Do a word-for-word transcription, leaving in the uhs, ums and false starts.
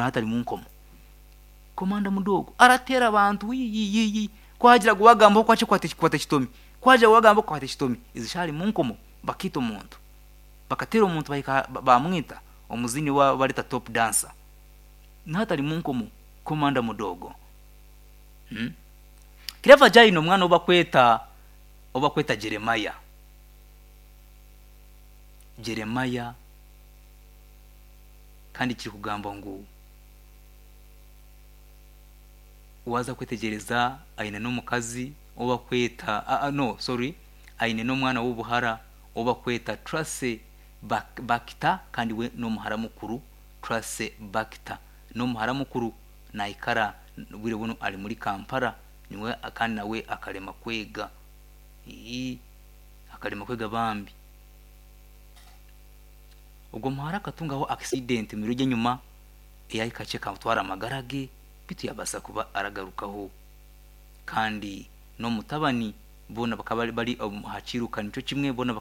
Nahati ari munkomo. Komanda Mudogo arateera abantu yiyiyiyi, kwagira ngu wagambaho kwakye kwata ekitomi, kwagira ngu wagambaho kwata ekitomi. Ezi ari munkomo. Bakiita omuntu, bakateera omuntu, bahika bamwita, omuzini wa bareta Top Dancer, nahati ari munkomo, Komanda Mudogo. hmm? Clever J aine omwana obakweta obakweta Jeremiah. Jeremiah, kandi kiri kugamba ngu waza kwetegyereza, aine n'omukazi obakweta, uh, uh, no, sorry, aine n'omwana w'obuhara obakweta Tracy Bakita, kandi we n'omuhara mukuru. Tracy Bakita n'omuhara mukuru, naikara bwire buno ari muri Kampala niwe, kandi nawe akarema kwega. Ii, akarema kwega bambi. Ogwo muhara akatungaho accident mu biro by'enyuma eyahika kamutwara amagara ge, bitu yabaasa kuba aragarukaho. Kandi n'omutabani boona bakaba bari aha kiruka nikyo kimwe boona.